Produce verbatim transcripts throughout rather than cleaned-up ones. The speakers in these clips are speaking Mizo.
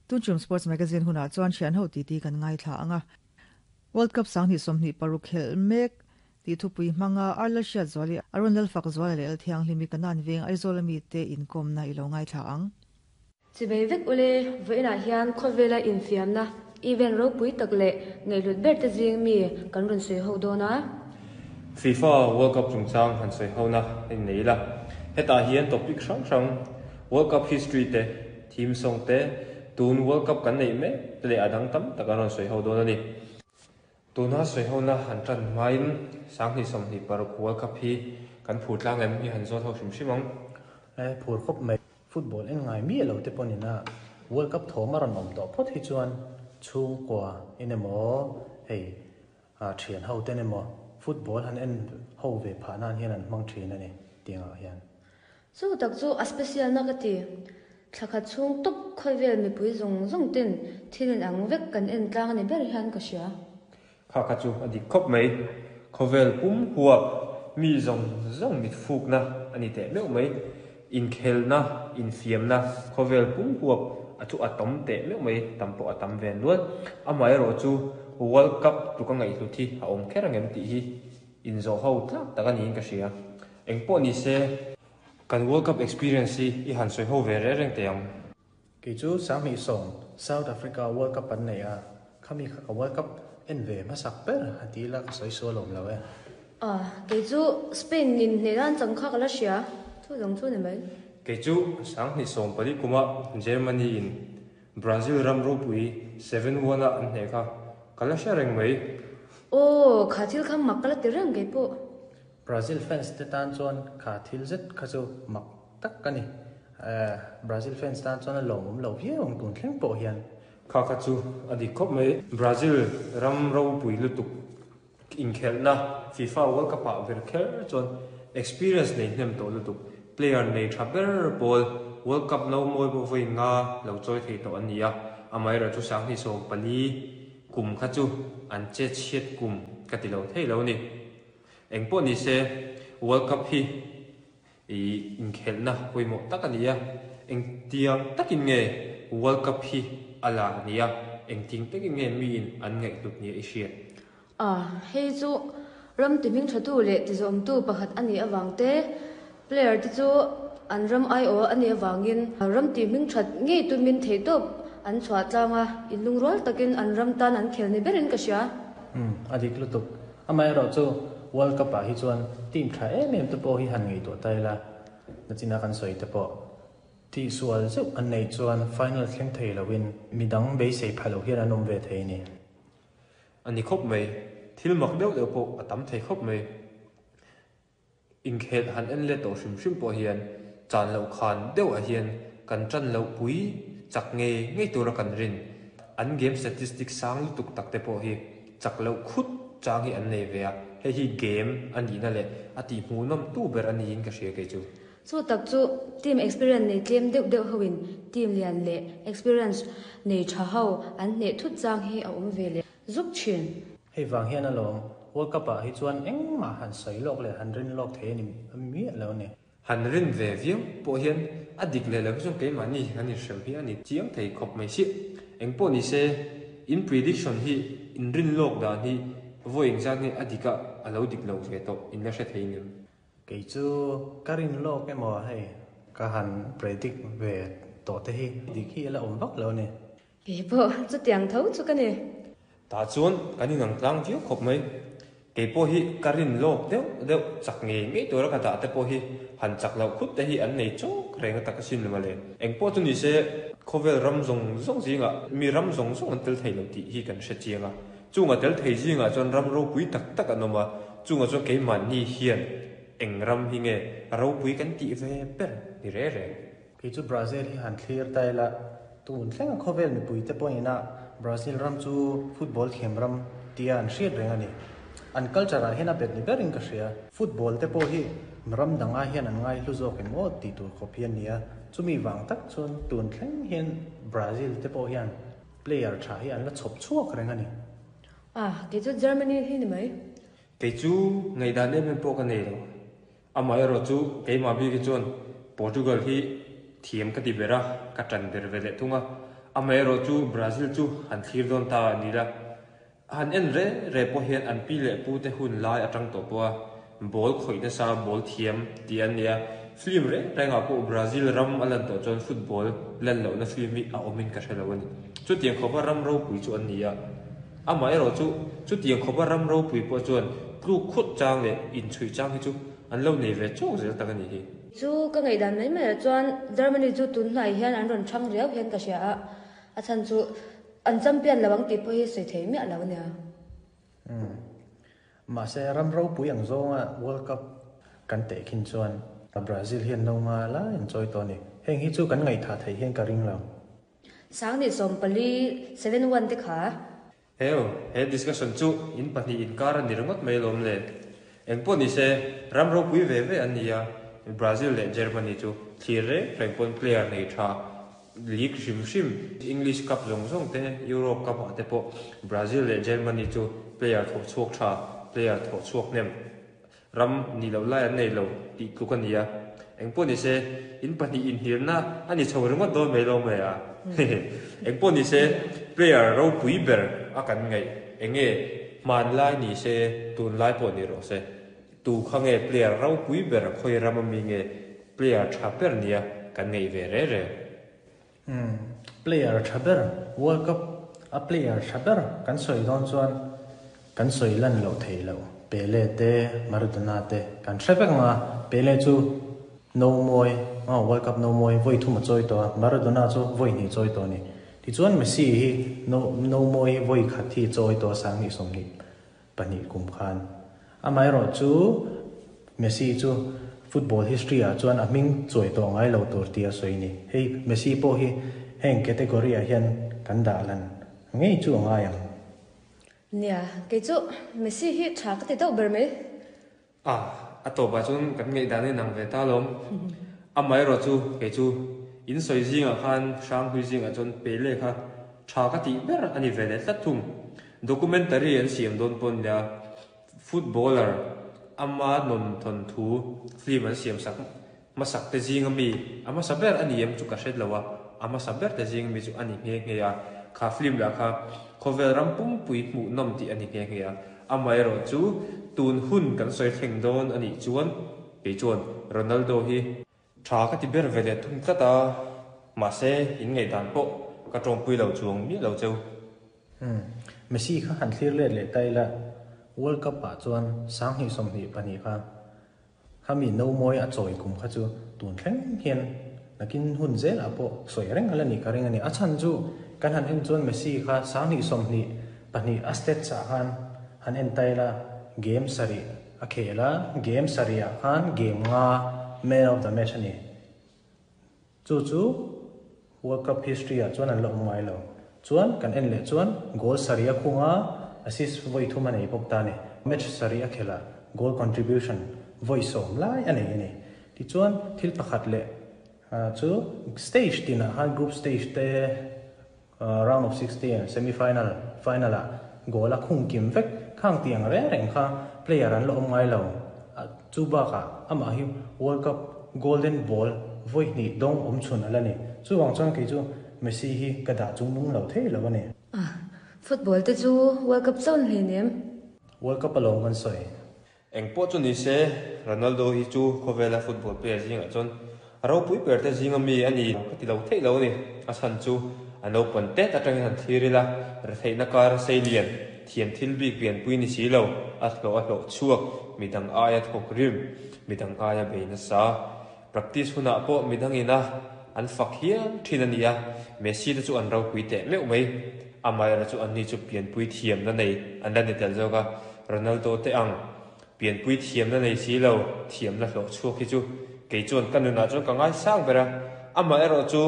Tunchum Sports Magazine hunah chuan thian ho titi kan ngaithla anga. World Cup sanghnih sawmhnih paruk khel mek ti thupui hmanga Arla hriat zuali Arun Lalfak zuala leh Lalthianghlimi Kanan veng Aizawl ami te inkawmna i lo ngaithla ang. Chibei vek ule vawiinah hian khawvela infiamna event ropui tak leh ngaihhlut ber te zing mi kan rawn sawi ho dawn a. FIFA World Cup chungchang han sawi ho na in nei la. Hetah hian topic hrang hrang World Cup history te, theme song te, tun World Cup kan neih mek te leh a dang tam tak an rawn sawi ho dawn a ni. Tuna sawi ho na han tan hmain sanghnih sawmhnih paruk World Cup hi kan phur tlang em hi han zawt ho hrim hrim ang. E phur khawp mai football en ngai mi lo te pawn ina World Cup thawm a rawn awm tawh phawt hi chuan chhungkua in emaw hei a thian ho ten emaw football han en ho ve pha nan hian an hmang thin ani tiangah hian. Chu tak chu a special na ka ti. Thlakhat chhung top khawvel mipui zawng zawng ten thil in ang vek kan en tlang ani ber hian ka hria. Kha kha chu a dik khawp mai. Khawvel pum huap mi zawng zawng mit fuk na ani teh meuh mai. Inkhelna, infiamna, khawvel pum huap a chu a tam teh meuh mai tam pawh a tam ve nual. Amaherawh chu World Cup tluka ngaihhlut hi a awm kher angem tih hi inzawh ho tlak tak ani in ka hria. Engpawh ni se kan World Cup experience hi i han sawi ho ve reng reng teh ang. Kei chu sanghnih sawm South Africa World Cup an nei a. Khami kha ka World Cup en ve hmasak ber a ti ila ka sawi sual awm lo e. Ah, kei chu Spain nin hnenan chang kha ka la hria. Chu zawng chu ni mai. Kei chu sanghnih sawm pali kuma Germany in Brazil ram ropui seven one a an hne kha ka la hria reng mai. Aw, kha thil kha mak ka la ti reng kei pawh. Brazil fans te tan chuan kha thil zet kha chu mak tak ka ni. Eh, Brazil fans tan chuan a lawm awm lo viau ang tun thleng pawh hian. Kha kha chu a dik khawp mai. Brazil ram ropui lutuk inkhelhna FIFA World Cup ah ber kher chuan experience nei hnem tawh lutuk. Player nei tha ber pawl World Cup no mawi pawh vawi nga lo chawi thei tawh an ni a. Amaherawh chu sanghnih sawm pali kum kha chu an che chhiat kum ka ti lo thei lo ni. Engpawh ni se World Cup hi i inkhelhna pawimawh tak a ni a. Engtiang takin nge World Cup hi a lar ni a. Engting takin nge mi in an ngaihhlut ni a i hriat. Ah, hei chu ram ti hming tha tu leh ti zawm tu pakhat ani awang te. Player te chu an ram ai aw ani awangin ram ti hming that ngei tu min thei tawp an chhuah tlanga in lungrual takin an ram tan an khel ni berin ka hria. Hmm, a dik lutuk. Amaherawh chu World Cup ah hi chuan team tha em em te pawh hi han ngei tawh tai la. Nachina kan sawi te pawh ti sual zeuh an nei chuan final thleng thei loin midang beisei phalo hian an awm ve thei ni. Ani khawp mai. Thil mak deuh deuh pawh a tam thei khawp mai. Inkhel han en le tawh hrim hrim pawh hian chan loh khan deuh ah hian kan tan loh pui chak nge ngei tura kan rin. An game statistics sang lutuk tak te pawh hi chak loh khut chang hi an nei ve a. Hei hi game ani na leh a ti hmu nawm tu ber ani in ka hria kei chu. Chu tak chu team experience nei tlem deuh deuh hoin team lian leh experience nei tha ho an hne thut chang hi a awm ve le zuk thin. Hei wang hian alawm World Cup ah hi chuan engmah han sawi lawk leh han rin lawk thei ani mi lo ni. Han rin ve viau pawh hian a dik leh lo hi chuan keimahni han inhrem hi ani chiang thei khawp mai si. Engpawh ni se in prediction hi in rin lawk dan hi vawi engzat nge a dik a a lo dik lo ve tawh in la hre thei ngem. Kei chu ka rin lawk emaw hei ka han predict ve tawh te hi dik hi la awm vak lo ni. Kei pawh chu tiang tho chu ka ni. Ta chuan kan inang tlang viau khawp mai. Kei pawh hi ka rin lawk deuh deuh chak nge ngei tura ka dah te pawh hi han chak loh khut te hi an nei chawk reng a tak a sin lema le. Engpawh chu ni se khawvel ram zawng zawng zingah mi ram zawng zawng an tel thei lo tih hi kan hre chiang a. Chunga tel thei zingah chuan ram ropui tak tak an awm a. Chunga chuan keimahni hian eng ram hi nge ropui kan tih ve ber ni re reng. Kei chu Brazil hi han thlir tai la tun thleng a khawvel mipui te pawh ina Brazil ram chu football thiam ram tia an hriat reng ani. An culture ah hian a bet ni berin ka hria. Football te pawh hi ram danga hian an ngai hlu zawk em aw ti tur khawp hian nia. Chumi wang tak chuan tun thleng hian Brazil te pawh hian player tha hi an la chhawp chhuak reng ani. Ah, kei chu Germany hi ni mai. Kei chu ngaihdan em em pawh ka nei lo. Amaherawh chu keimah bik hi chuan Portugal hi thiam ka ti ber a, ka tan ber ve leh thung a. Amero chu Brazil chu han thlir don ta ni la han en re re po hian an pi le pu te hun lai atang to po ball khoi na sa ball thiam ti an nia film re renga po Brazil ram alan to chon football lan lo na film mi a omin ka thelo ani chu tiang khopa ram ro pui chu an nia ama ero chu chu tiang khopa ram ro pui po chuan tlu khut chang le in chui chang hi chu an lo nei ve chok zel tak ani hi chu ka ngai dan mai mai chuan Germany chu tun hnai hian an ron thang riau hian ka sia a chan chu an champion lawang ti pho hi soi thei mi alo nia um ma se ram ro pui ang zonga World Cup kan te khin chuan Brazil hian no nga la in choi to ni heng hi chu kan ngai tha thei hian ka ring lo sang ni som pali seven one te kha heo he discussion chu in pahni in kar ani ringot mai lom le engpo ni se ram ro pui ve ve ania Brazil le Germany chu thlir re rengpon player nei tha league shim shim English Cup zong zong te Europe Cup te po Brazil le Germany chu player thok chuak tha player thok chuak nem ram ni lo lai an nei lo ti tluk ania engpo ni se in pahni in hirna ani chho ringot do mai lo mai a engpo ni se player ro pui ber a kan ngai enge man lai ni se tun lai po ni ro se tu khange player ro pui ber khoi ram mi nge player tha per nia kan nei ve re re um player tha ber World Cup a player tha ber kan soi don chuan kan soi lan lo thei lo Pele te Maradona te kan hrevek nga Pele chu no moi a World Cup no moi voi thuma choi to Maradona chu voi ni choi to ni ti chuan Messi hi no no moi voi khat hi choi to sang ni som ni pani kum khan amai ro chu Messi chu football history a chuan a ming choi to ngai lo tur tia soi ni hei Messi po hi heng category a hian kan da lan ngei chu ngai ang nia ke chu Messi hi tha ka ti to ber me a a to ba chun kan ngei dan ni nang ve ta lom amai ro chu ke chu in soi zinga khan sang hui zinga chon Pele kha tha ka ti ber ani ve le tlat thung documentary an siam don pon la footballer ama non thon thu film an siam sak ma sak te zinga mi ama saber ani em chu ka hret lawa ama saber te zinga mi chu ani nge nge ya kha film la kha khovel ram pum pui mu nom ti ani nge nge ya amai ro chu tun hun kan soi thleng don ani chuan pe chuan Ronaldo hi tha ka ti ber vele thung tlata ma se in ngei dan po ka tong pui lo chuang mi lo cheu um Messi kha han thlir le le tai la World Cup pa chuan sang hi som hi pani kha khami no moi a choi kum kha chu tun thleng hian nakin hun zel apo soi reng ala ni ka ring ani a chan chu kan han en chuan Messi kha sang hi som hi pani a stat cha khan han en tai la game sari a khela game sari a khan game nga man of the match ani chu chu World Cup history a chuan an lo ngai lo chuan kan en le chuan goal sari a khunga assist voi thuma nei pok ta ni match sari a khela goal contribution voi som lai ani ani ti chuan thil pakhat le chu stage tina han group stage te round of sixteen semi final final a goal a khung kim vek khang tiang re reng kha player an lo ngai lo chu ba kha ama hi World Cup golden ball voi ni dong om chun ala ni chu wang chuan ke chu Messi hi ka da chung nung lo thei lo ani football te chu World Cup zone hle nem World Cup along kan soi eng po chu ni se Ronaldo hi chu khovela football player zinga chon ro pui per te zinga mi ani ka ti lo thei lo ni a chan chu an lo pon te ta tang han thirila re thei na kar seilian thiam thil bik pian pui ni si lo a hlo a hlo chuak midang aya thok rim midang aya be na sa practice huna po midang ina an fak hian thin ania Messi te chu an ro pui te meu mai amai ra chu an ni chu pian pui thiam na nei an la ni tel zoka Ronaldo te ang pian pui thiam na nei si lo thiam na hlo chuak hi chu ke chuan kanuna chu ka ngai sang bera ama ero chu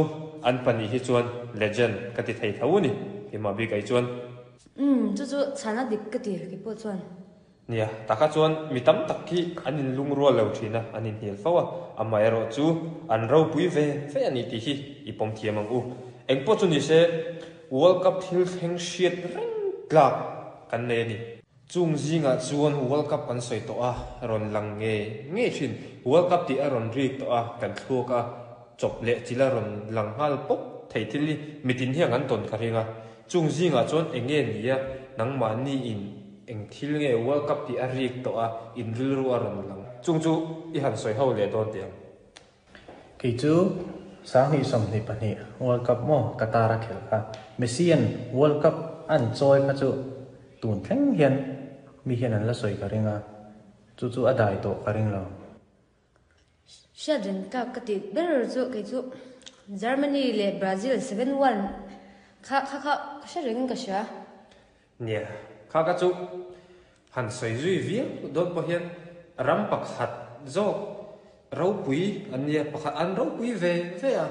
an pani hi chuan legend ka ti thei tho ni ima bi kai chuan um chu chu chana dik ka ti ke po chuan nia taka chuan mi tam tak hi an in lung rual lo thina an in hil fawa ama ero chu an ro pui ve fe ani ti hi ipom thiam ang u engpo chu ni se World Cup thil thleng hriat reng tlak kan nei ani chung zinga chuan World Cup kan soi to a ron lang nge nge thin World Cup ti a ron rik to a kan thluak a chop le chila ron lang hal pop Thei thil hi mitin hian an tawn ka ringa. Chung zinga chuan enge nia nangmah ni in eng thil nge World Cup ti a rik to a in rilru a rawn lang. Chung chu i han sawi ho leh dawn tiang. Kei chu sang ni som ni pahnih World Cup mo Qatar a khel kha. Messi an World Cup an chawi kha chu tun thleng hian mi hian an la sawi ka ringa. Chu chu a dai to ka ring lo. Hriat reng ka ka ti ber chu kei chu Germany le Brazil seven one kha kha kha hriat reng ka hria. Nia kha ka chu han sawi zui viau dawn pawh hian ram pakhat zawk ropui an nia pakhat an ropui ve ve a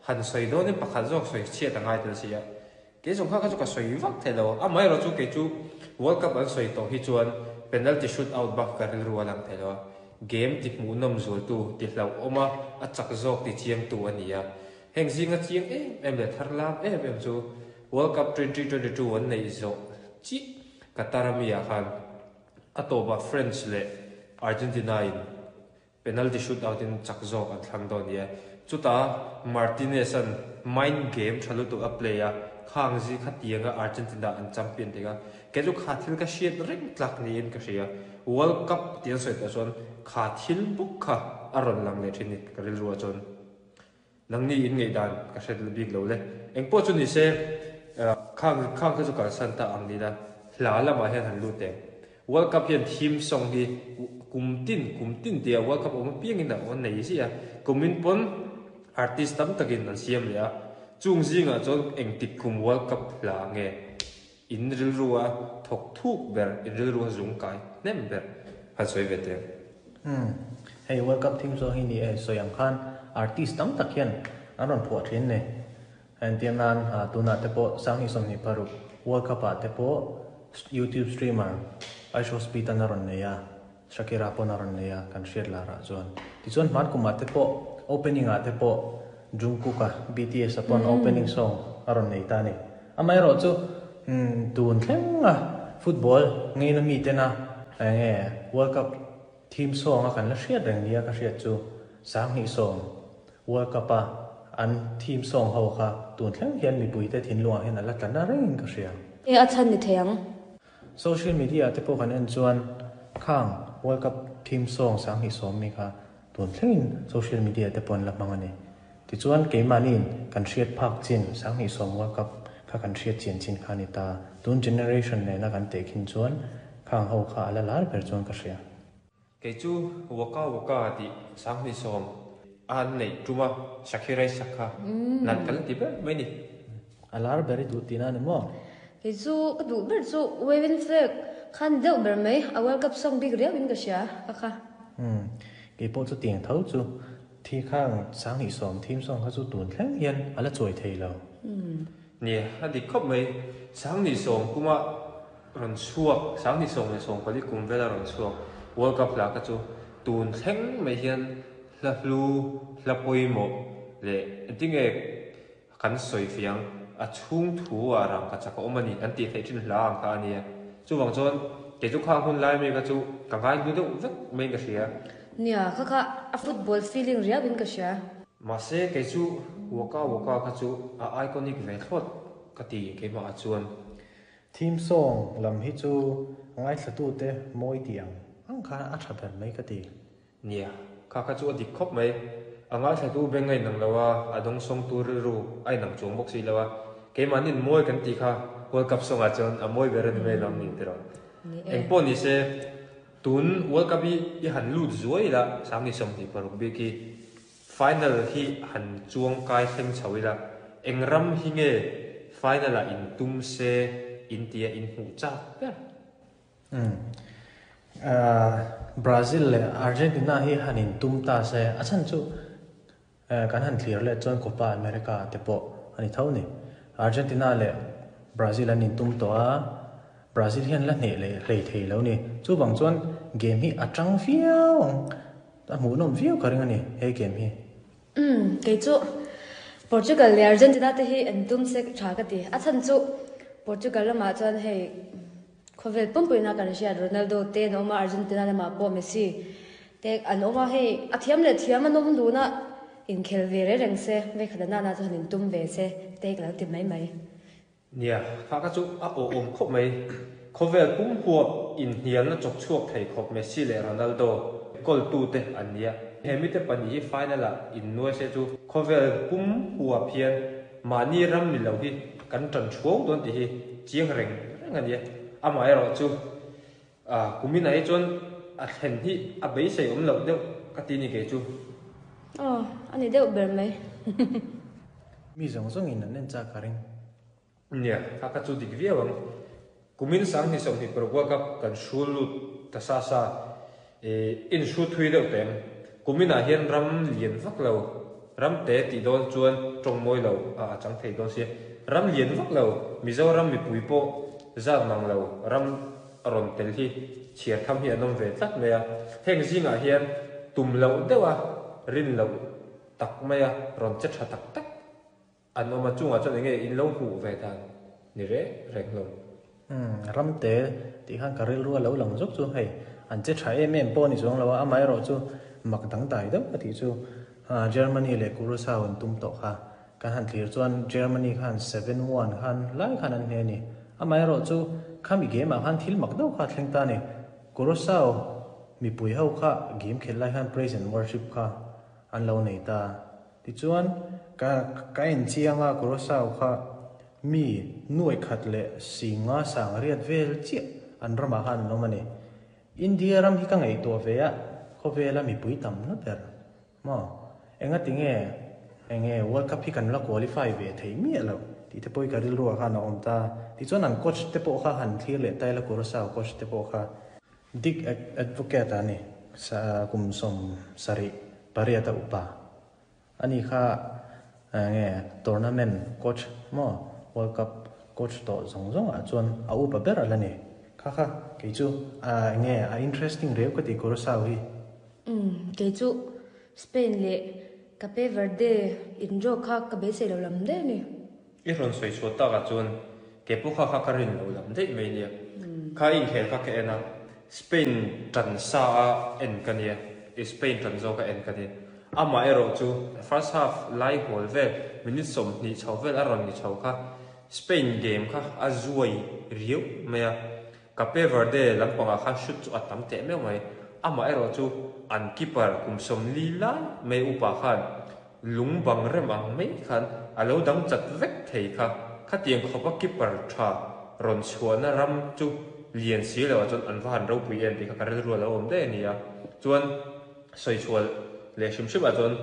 han sawi dawnin pakhat zawk sawi chhiat a ngai tel si a. Ke zawng kha ka chu ka sawi vak thei lo. A mai ro chu kei chu World Cup an sawi tawh hi chuan penalty shoot out bak ka rilru a lang thei lo a. Game ti hmuh nawm zual tu ti hlau awma a chak zawk ti chiang tu a ni a. Heng zinga chiang em em le thar lam em em chu World Cup twenty twenty-two an nei zawh chi Qatar ami ah khan a tawpa French le Argentina in penalty shoot out in chak zawk an thlang dawn ni a. Chuta Martinez an mind game thalu tu a play a khang zi kha tianga Argentina an champion tega. Ke chu kha thil ka hriat reng tlak ni in ka hria. World Cup tian sawi ta chuan kha thil buk kha a rawn lang leh thin ni ka rilru a chuan. Nang ni in ngei dan ka hriat bik lo le. Eng pawh chu ni se khang khang kha chu kal san ta ang ni la. Hla lamah hian han lut teng. World Cup hian theme song hi kum tin kum tin tia World Cup awm piang in a awm nei si a. Kumin pawn artist tam takin an siam leh a. Chung zinga chuan eng tik kum World Cup hla nge in rilru a thawk thuk ber in rilru a zung kai hnem ber han sawi ve teng. Hmm. Hei World Cup theme song hi ni e sawi ang khan artist tam tak hian an rawn phuah thin ne. An tiam nan tuna te pawh sang hi sawmhnih paruk World Cup ah te pawh YouTube streamer Aisho Speed an a rawn nei a. Shakira pawn a rawn nei a kan hriat lar ah chuan. Tichuan hman kumah te pawh opening ah te pawh Jungkook a B T S a pawn opening song a rawn nei ta ni. Amaherawh chu tun thleng a football ngei na mi tena nge World Cup theme song a kan la hriat reng nia ka hriat chu sang hnih sawm World Cup a an theme song ho kha tun thleng hian mipui te thinlungah hian a la tla na rengin ka hria. E a chhan ni thei ang. Social media te pawh kan en chuan khang World Cup theme song sang hnih sawm mi kha tun thlengin social media te pawh an la hmang a ni. Tichuan keimanin kan hriat phak chin sang hnih sawm World Cup kha kan hriat chian chin kha ni ta. Tun generation nena kan teh khin chuan khang ho kha a la lar ber chuan ka hria. Kei chu waka waka ti sang hnih sawm an nei tuma Shakira sakha nan kal ti ber mai ni. A lar ber i duh tina ni maw? Kei chu ka duh ber chu Wavin Flag khan deuh ber mai a World Cup song bik riau in ka hria ka kha. Hmm. Kei pawh chu tiang tho chu thi khang sang hnih sawm theme song kha chu tun thleng hian a la chawi thei lo. Nia a dik khawp mai sang hnih sawm kuma rawn chhuak sang hnih sawm leh sawm pali kum vela rawn chhuak World Cup hla kha chu tun thleng mai hian hla hlu hla pawimawh leh tinge kan sawi fiang a chhung thu a rang ka chak a awm a ni an tih theih thin hla ang kha a nia. Chuwang chuan kei chu khang hun lai mi kha chu ka ngai hlu deuh vek mai ka hria. Nia kha kha a football feeling riau in ka hria. Mahse kei chu waka waka kha chu a iconic ve thlawt ka ti keimah ah chuan. Theme song lam hi chu ngai thla tu te mawi ti ang ang kha a tha ber mai ka ti. Nia kha kha chu a dik khawp mai. A ngai thla tu beng ngai nang lo a a dawng sawng tu rilru ai nang chuang bawk si lo a. Keimanin mawi kan ti kha World Cup song ah chuan a mawi ber ani mai lam ni ti ro. Eng pawh ni se tun World Cup hi i han lut zuai la sang hnih sawmhnih paruk bik hi final hi han chuang kai thleng chho ila. Eng ram hi nge final ah in tum se in tia in hmuh chak ber. Hmm. Brazil le Argentina hi han in tum ta se a chan chu kan han thlir le chuan Copa America te pawh ani tho ni. Argentina le Brazil an in tum to a Brazil hian la hne le hlei thei lo ni. Chu bang chuan game hi a tang viau ang a hmuh nawm viau ka ring ani he game hi. Hmm, kei chu Portugal le Argentina te hi an tum se tha ka ti. A chan chu Portugal lamah chuan hei khawvel pumpuina kan hriat Ronaldo te an awm a Argentina lamah pawh Messi te an awm a hei a thiam leh thiam an awm dun a Inkhel ve reng reng se ve khat na na chu hanin tum ve se te ka lo ti mai mai. Nia kha ka chu a o om khop mai khovel pum huap in hnial na chok chuak thei khop Messi le Ronaldo kol tu te an nia hemi te pani hi final a in nuai se chu khovel pum huap hian mani ram ni lo hi kan tran chuau don ti hi chiang reng reng ania ama ero chu a kumina hi chuan a thlen hi a beisei om lo deuh ka ti ni ke chu. Oh ani deuh ber mai. Mi zong zong in an en cha ka ring. Nia kha ka chu dik viau ang kumin sang ni som hi pro World Cup kan shul lut ta sa sa e in shu thui deuh teng kumina hian ram lian vak lo ram te ti don chuan tong moi lo a chang thei don sia ram lian vak lo Mizoram mi pui po zat mang lo ram ron tel hi chiar tham hi anom ve tlat me a heng zinga hian tum lo dewa rin lo tak maya ron che tha tak tak an oma chunga chuan enge in lo hu ve tan ni re reng lo. Um ram te ti khan karil ru lo lang zok chu hei an che tha em em pawh ni chuang lo a mai ro chu mak dang dai deuh ka ti chu Germany le Curacao an tum to kha kan han thlir chuan Germany khan seven one khan lai khan an hne ni a mai ro chu khami game ah khan thil mak deuh kha thleng ta ni Curacao mi pui ho kha game khel lai khan praise and worship kha an lo nei ta ti chuan ka ka en chianga Curacao kha mi nuai khat le singa sang riat vel chi an rama han no mani India ram hi ka ngai to ve a khovela mi pui tam na ber ma enga tinge enge World Cup hi kan la qualify ve thei mi lo ti te poi ka ril ru kha na om ta ti chuan an coach te po kha han thlir le tai la Curacao coach te po kha Dick Advocaat ani sa kum som sari pariata upa ani kha nge tournament coach mo World Cup coach to zong zong a chuan a upa ber ala ni kha kha ke chu a nge a interesting reu ka ti Curacao hi. Um ke chu Spain le Cape Verde in ro kha ka be se lo lam de ni i ron soi chu ta ka chuan ke pu kha kha ka rin lo lam de mai ni kha in khel kha ke na Spain tran sa a en ka nia Spain tran zo ka en ka ni ama ero chu first half lai hol vel minute som ni chho vel aron ni chho kha Spain game kha a zuai riu maya Cape Verde lampanga kha shoot chu atam te me mai ama ero chu an keeper kum som li lai mai upa khan lung bang rem ang mai khan alo dang chat vek thei kha kha tiang khopa keeper tha ron chuana ram chu lian si lo chuan an van ro pui en ti kha karel ru lo om de nia chuan soi chual le shim shim a chuan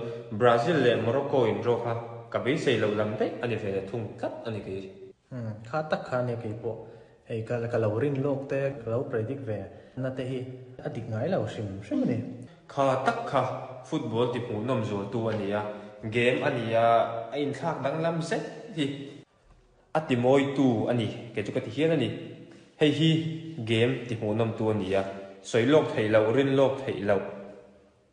Brazil le Morocco in ro kha ka be sei lo lam te ani ve thung kat ani ke. Um kha tak kha ne ke po hei ka ka lo rin lok te ka lo predict ve na te hi adik ngai lo shim shim ni kha tak kha football ti hmu nom zo tu ania game ania a in thlak dang lam se hi ati moi tu ani ke chu ka ti hian ani hei hi game ti hmu nom tu ania soi lok thei lo rin lok thei lo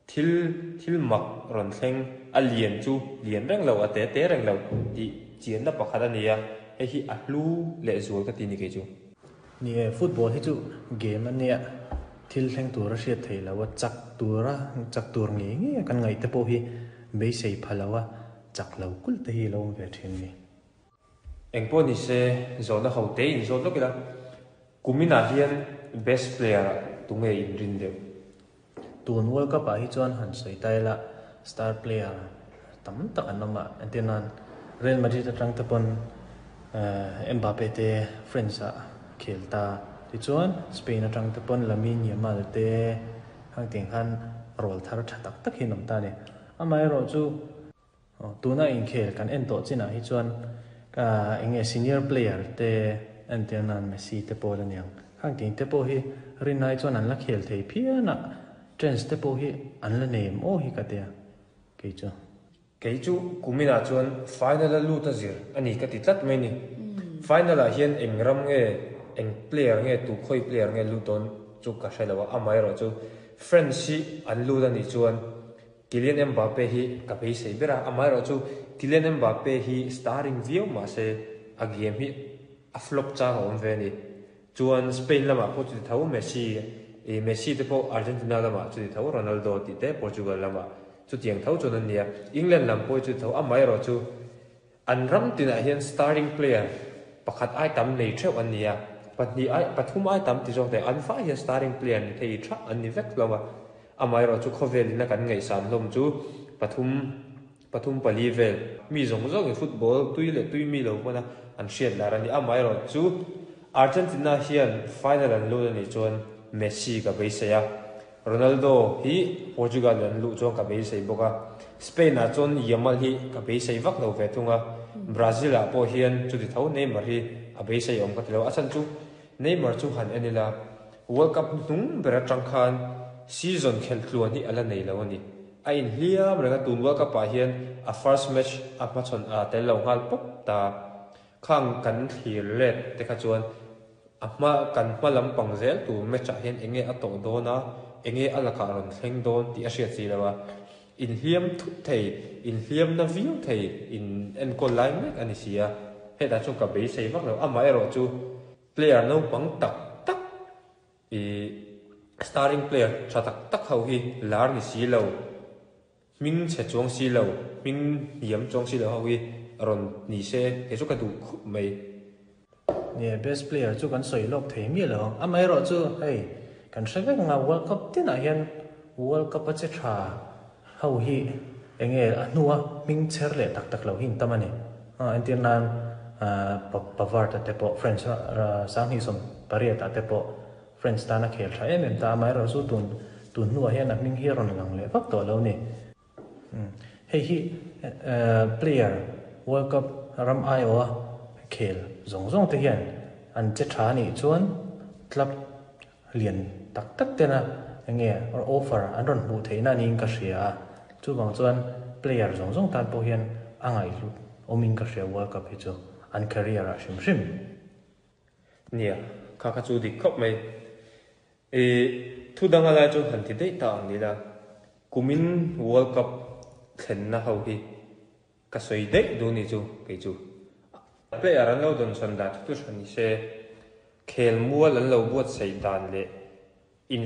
thil thil mak ron thleng a lian chu lian reng lo a te te reng lo ti chian na pakhat ania hei hi a hlu le zual ka ti ni ke chu ni football hi chu game ania thil thleng tura hriat thei lo a chak tura chak tur nge nge kan ngai te pawh hi beisei phalawa chak lo kul te hi lo ve thin ni engpawh ni se zawhna ho te in zawt lawk ila kumina hian best player tunge in rin deuh tun World Cup ah hi chuan han sawi tai la star player tam tak an awm a entirnan Real Madrid atang te pawn Mbappe te France ah khel ta ti chuan Spain atang te pawn Lamine Yamal te hang tiang khan rol thar tha tak tak hin awm ta ni amai ro chu tuna in khel kan en tawh chinah hi chuan ka enge senior player te entirnan Messi te pawh aniang hang tiang te pawh hi rinai chuan an la khel thei phian a trends te pawh hi an la nem aw hi ka tia kei chu kei chu kumina chuan final a lut a zir ani ka ti tlat mai ni final ah hian eng ram nge eng player nge tu khoi player nge lu ton chu ka hrelawa amai ro chu France hi an lut ani chuan Kylian Mbappe hi ka beisei bera amai ro chu Kylian Mbappe hi starring viau ma se a game hi a flop cha awm ve ni chuan Spain lama pawh chu ti tho Messi e Messi te pawh Argentina lama chu ti tho Ronaldo ti te Portugal lama Chu tiang tho chu nan nia England lam pawh chu tho a mai ro chu an ram tinah hian starting player pakhat ai tam nei theuh an nia pahnih ai pathum ai tam ti zawk te an fa hian starting player ni thei tha an ni vek lova amai ro chu khovel ina kan ngei san hlom chu pathum pathum pali vel mi zong zong in football tui le tui mi lo pona an hriat lar ani amai ro chu Argentina hian final an lu ani chuan Messi ka beiseia Ronaldo hi Portugal an lu chuan ka beisei boka Spain a chuan Yamal hi ka beisei vak lo ve thunga Brazil a pawh hian chu ti tho Neymar hi a beisei awm ka tilo a chan chu Neymar chu han enila World Cup hnung bera tang khan season khel tluan hi ala nei lo ani a in hliam renga tun World Cup ah hian a first match a hmachhawn a tel lo nghal pawp ta khang kan thlir let te kha chuan a hma kan hma lampang zel tu match ah hian enge a tawh dawn a enge a lakah rawn thleng dawn tih a hriat si lo a in hliam thut thei in hliam na viau thei in enkawl lai mek ani si a hetah chuan ka beisei vak lo amah erawh chu player naupang tak tak i starting player tha tak tak ho hi lar ni si lo ming che chuang si lo ming hiam chuang si lo ho hi rawn ni se he chu ka duh khup mai ne best player chu kan soi lok thei mi lo amai ro chu hei kan hrevek nga World Cup tin ah hian World Cup a che tha ho hi enge a hnuwa ming cher le tak tak lo hin tamani a entir nan Pavard te pawh French sang hi som pariat te pawh French tana khel tha em em ta mai ro chu tun tun hnuah hian a hming hi rawn lang leh vak tawh lo ni hei hi player World Cup ram ai o khel zong zong te hian an che tha ni chuan club lian tak tak tena enge or offer an rawn hmuh theihna niin ka hria chu wang chuan player zong zong tan pawh hian a ngai hlu awmin ka hria World Cup hi chu an career a hrim hrim nia kha kha chu dik khawp mai e thu danga lai chu han ti dei ta ang ni la kumin World Cup thlen na ho hi ka soi dei du ni chu kei chu player an lo don son da tu than ni se khel mual an lo buat sei dan le in